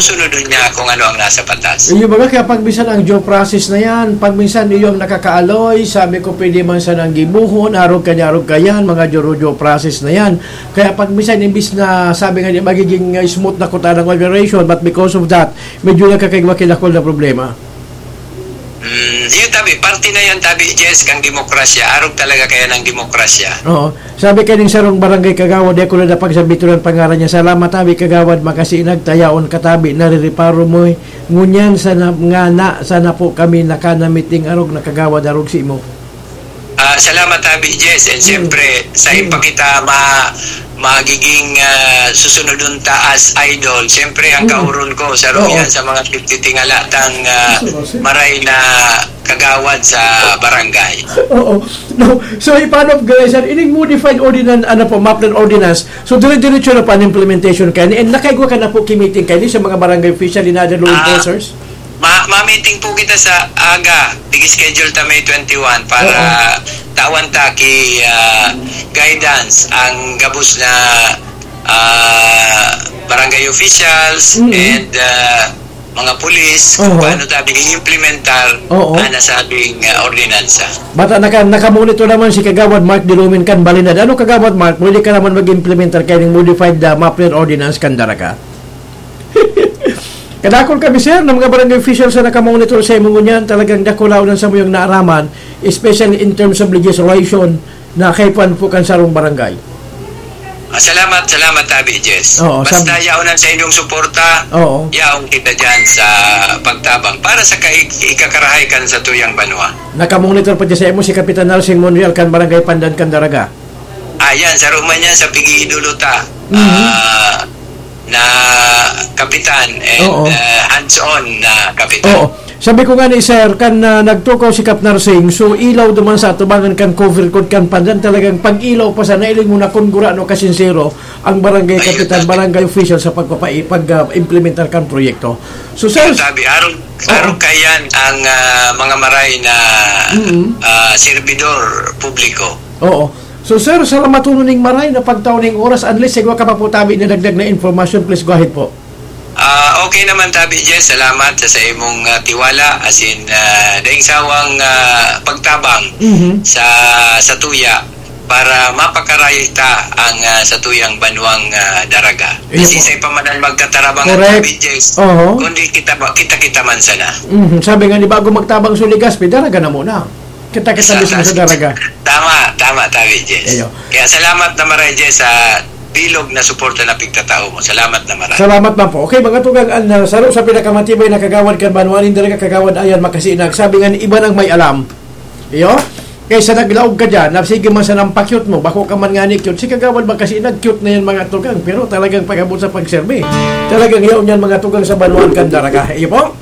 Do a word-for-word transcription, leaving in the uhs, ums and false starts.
sunodon niya kung ano ang nasa batas. Iyo, baga, kaya pag minsan ang due process na yan, pag minsan iyo ang nakakaaloy, sabi ko, pwede man sanang gibuhon, arog ka niya, arog ka yan, mga due, due process na yan. Kaya pag minsan, imbis na sabi nga niya, magiging, uh, smooth na kuta ng operation, but because of that, medyo nagkakaigwa-kilakol na problema. Mm, yun tabi, parte na yan tabi, Jess, kang demokrasya. Arog talaga kaya ng demokrasya. Oo. Sabi kaning sarong barangay kagawad, di ko na napagsabituran pangaran niya. Salamat tabi, kagawad, makasiinag, tayaon ka tabi, narireparo mo, eh. Ngunyan sana, nga na, sana po kami nakanamiting arog na kagawad, arog si mo. Ah, salamat tabi, Jess. And Mm. siyempre, sa Mm. ipakita ma-, magiging, ah, susunodon ta as idol. Siyempre, ang Mm. kauron ko, saro Oo. yan sa mga titingala tang, ah, Gusto ko, sir. maray na kagawad sa barangay. Oo. No. So, i-follow up, guys, sir, ining modified ordinance, ano po, map and ordinance. So, dire-diretso na po ang implementation kayo. And nakaigwa ka na po kimiting kayo sa mga barangay official and other law Ah, enforcers? ma-, ma-meeting po kita sa aga. Nag-schedule ta May twenty-one para Oo. tawan ta ki, ah, guidance ang gabos na, ah, barangay officials Mm. and, ah, mga pulis, kung Oo. paano tabi i-implementar Oo. ang nasabing, ah, ordinansa. Bata, naka-, nakamonitor naman si Kagawad Mark Dilumin kan Balinad. Ano, Kagawad Mark, pwede ka naman mag-implementar kayo ng modified, ah, map and ordinance kan Daraga? Kadakol kami, sir, ng mga barangay officials na nakamonitor sa imo ngunyan. Talagang dakulaw ng samuyang naaraman, especially in terms of legislation na kaipuhan po kan sarong barangay. Ah, salamat, salamat, Tabi Jess. Oo, Basta sab- yaon ang sa inyong suporta, Oo. yaon kita dyan sa pagtabang para sa kaig-, ikakarahay kan sa tuyang banwa. Nakamonitor pa dyan sa imo si Kapitan Narsing Monreal kan Barangay Pandan kan Daraga. Ah, yan, sa Roma niya, sa pig-iidolo ta. Mhm. Ah, na kapitan and, Oo. ah, hands-on na kapitan. Oo. Sabi ko nga ni Sir, kan, ah, nagtukaw si Kap Narsing, so ilaw duman sa atubangan kan cover code kan Pandan, talagang pag-ilaw pa sa nailing mo na kun gurano kasinsero ang barangay Ayun, kapitan, tabi. barangay official sa pagpapai-, pag, ah, implementar kan proyekto. So, Sir, Ayun, tabi. Arog, Oo. arog kaiyan ang, ah, mga maray na, Mm. ah, serbidor publiko. Oo. So, sir, salamat po ning maray na pagtao ning oras. Unless sigwa ka pa po tabi na dagdag na informasyon, please go ahead po. Ah, okay naman, Tabi Jess. Salamat sa, sa imong, ah, tiwala. As in, ah, daing sawang, ah, pagtabang Mhm. sa, sa tuya para mapakaray ta ang, ah, sa tuyang banwang, ah, Daraga. Iyo Kasi po. sa ipamanan magkatarabang Correct. ang Tabi Jess, Oho. kundi kita ba, kita-kita man sana. Mhm. Sabi nga ni, bago magtabang sa Legazpi, Daraga na muna. Kita-kita Isa, mismo sa tas- Daraga. Tama, tama, Tabi Jess. Iyo. Kaya salamat na maray, Jess, sa bilog na suporta na pigtatao mo. Salamat na maray. Salamat man po. Okay, mga tugang, an, ah, saro sa pinakamatibay na kagawad kan banwa nin Daraga, Kagawad Ayan Makasinag. Sabi nga ni iba nang may alam. Iyo? Kaysa naglaog ka dyan, na sige man sanang pa-cute mo, bako ka man nga ni cute, si Kagawad Makasinag, cute na yan, mga tugang. Pero talagang pag-abot sa pagserbi. Talagang yaon yan, mga tugang, sa banwaan kan Daraga. Iyo po?